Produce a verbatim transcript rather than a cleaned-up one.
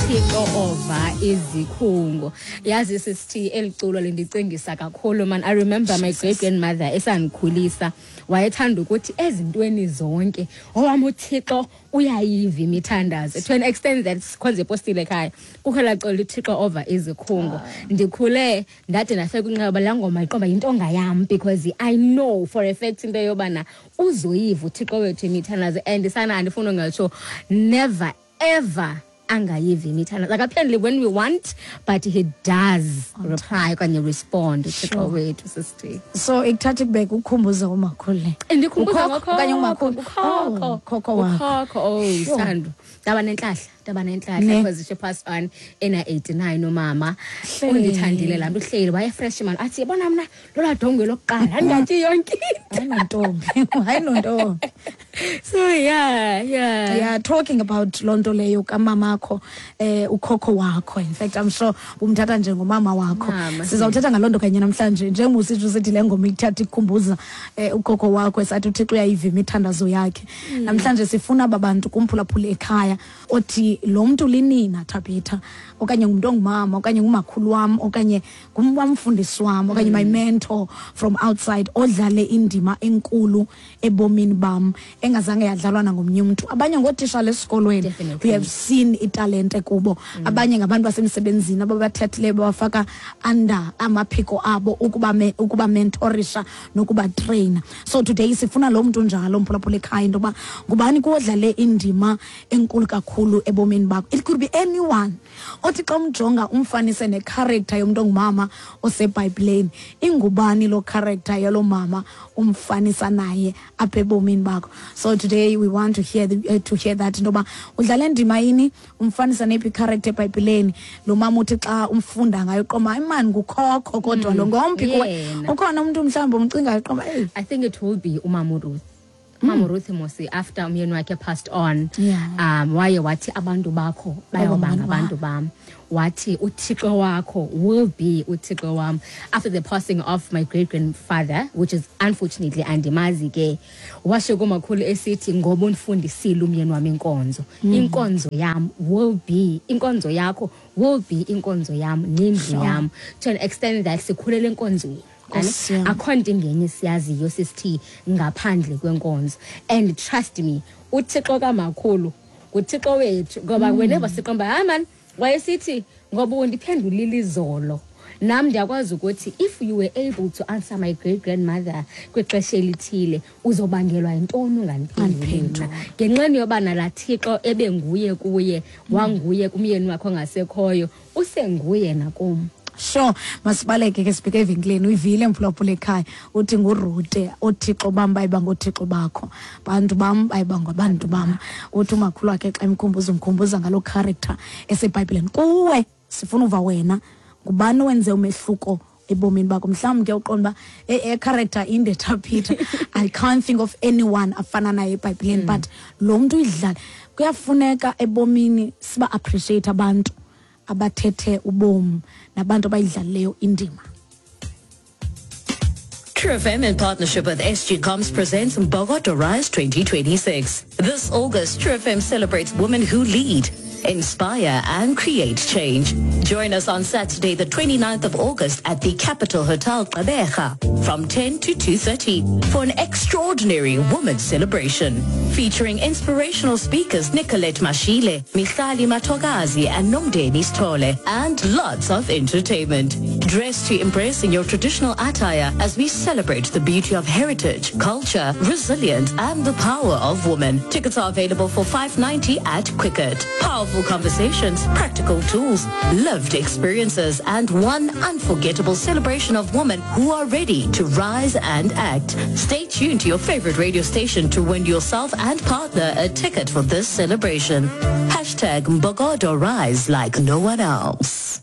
Thixo ova izikhungo. Yazi sisithi eliculo lindicingisa kakhulu man. I remember my great grandmother esandikhulisa wayethanda ukuthi ezintweni zonke owam uThixo uyayiva imithandazo, to an extent that sikhonze ipostile ekhaya kukho laa culo uThixo ova izikhungo. Ndikhule ndade ndafika kwinqaba laa ngoma iqomba yintonga yam, because I know for a fact into yobana uzoyiva uThixo wethu imithandazo. And sana andifuni ungatsho, never ever angayivi imithandazo. Like apparently when we want, but he does reply okanye respond uThixo Sure. wethu sister. So ikuthatha ikubeka ukukhumbuza umakhulu le. Ndikhumbuza Ukhokho okanye umakhulu? Ukhokho. Oh, ukhokho wakho. Ukhokho, oh. Sure. Sithando, ndaba nentlahla ndaba nentlahla Ne. because she passed on ena eighty-nine umama. Hleli. Undithandile laa mntu, uhleli waye-fresh man, athi yabona mna lolaa dongwe lokuqala andingatyi yonke into. Hayi nontombi, hayi nontombi. So yeah yeah Yeah, talking about loo nto leyo kamamakho, eh ukhokho wakho, in fact I'm sure umthatha njengomama wakho. Mama. Sizawuthetha ngaloo nto kanye namhlanje, njengoba usitsho usithi le ngoma ikuthatha ikukhumbuza eh ukhokho wakho esathi uThixo uyayiva imithandazo yakhe. Namhlanje sifuna aba bantu kumphulaphula ekhaya othi lo mntu linina Tabitha, okanye ngumntu ongumama, okanye ngumakhulu wam, okanye ngumfundisi wam, okanye my mentor from outside odlale indima enkulu ebomini bam engazange yadlalwa nangomnye umntu. Abanye ngootishala esikolweni, Definitely. we have seen italente kubo. Abanye ngabantu basemsebenzini ababathathileyo babafaka under amaphiko abo ukuba me, ukuba mentorisha nokuba trainer. So today sifuna lo mntu njalo mphulaphula ekhaya into yoba ngubani kuwodlale indima enkulu kakhulu ebomini bakho. It could be anyone othi xa umjonga umfanise necharacter yomntu ongumama osebhayibhileni. Ingubani lo character yalo mama umfanisa naye apha ebomini bakho? So today we want to hear the, uh, to hear that into yoba udlale ndima yini, umfanisa neyiphi character ebhayibhileni lo mama uthi xa umfunda ngayo qoma imani ngukhokho kodwa lo ngomphi kuwe. Yena. Ukhona umntu mhlawumbi umcingayo qoma eyi? I think it will be umama Ruth. Umama Ruth Mosi, after umyeni wakhe passed on, Yeah. um waye wathi abantu bakho bayoba Bayoba ngabantu bam. Wathi uThixo wakho will be uThixo wam. After the passing of my great grandfather, which is unfortunately andimazi ke, washo kumakhulu esithi ngoba undifundisile umyeni wami inkonzo, inkonzo yam will be inkonzo yakho, will be inkonzo yam nendlu yam, to an extent that sikhulele enkonzweni. Nkosi yam. Akho nto ingenye siyaziyo sisithi ngaphandle kwenkonzo. And trust me, uThixo kamakhulu nguThixo wethu, ngoba whenever siqomba hayi man wayesithi ngoba undiphendulile izolo, nam ndiyakwazi ukuthi if you were able to answer my great grandmother kwixesha elithile, uzobangelwa yintoni ungandiphenduli mna? Ngenxeni yoba nalaa Thixo ebenguye kuye, wanguye kumyeni wakhe ongasekhoyo, usenguye nakum. Sure, masibaleke ke sibheke evenkileni. Uyivile mphulaphula ekhaya, uthi nguRute, othixo bam bayiba ngothixo bakho, bantu bam bayiba ngabantu bam. Uthi umakhulu wakhe xa emkhumbuza umkhumbuza ngaloo character esebhayibhileni. Kuwe sifuna uva wena, ngubani owenze umehluko ebomini bakho? Mhlawumbi ke uqonda uba e character inde Tabitha, I can't think of anyone afana naye ebhayibhileni, but lo mntu uyidlala. Kuyafuneka ebomini siba appreciate abantu abathethe ubomi nabantu abayidlalileyo indima. True F M in partnership with S G Comms presents Mbokodo Rise twenty twenty-six. This August, True F M celebrates women who lead, inspire and create change. Join us on Saturday, the 29th of August at the Capital Hotel Gqeberha from ten to two thirty for an extraordinary women's celebration featuring inspirational speakers Nicolette Mashile, Mihlali Matogazi and Nomdeni Stole, and lots of entertainment. Dress to impress in your traditional attire as we celebrate the beauty of heritage, culture, resilience and the power of women. Tickets are available for five ninety at Quicket. Powerful conversations, practical tools, lived experiences and one unforgettable celebration of women who are ready to rise and act. Stay tuned to your favorite radio station to win yourself and partner a ticket for this celebration. Hashtag Mbokodo Rise like no one else.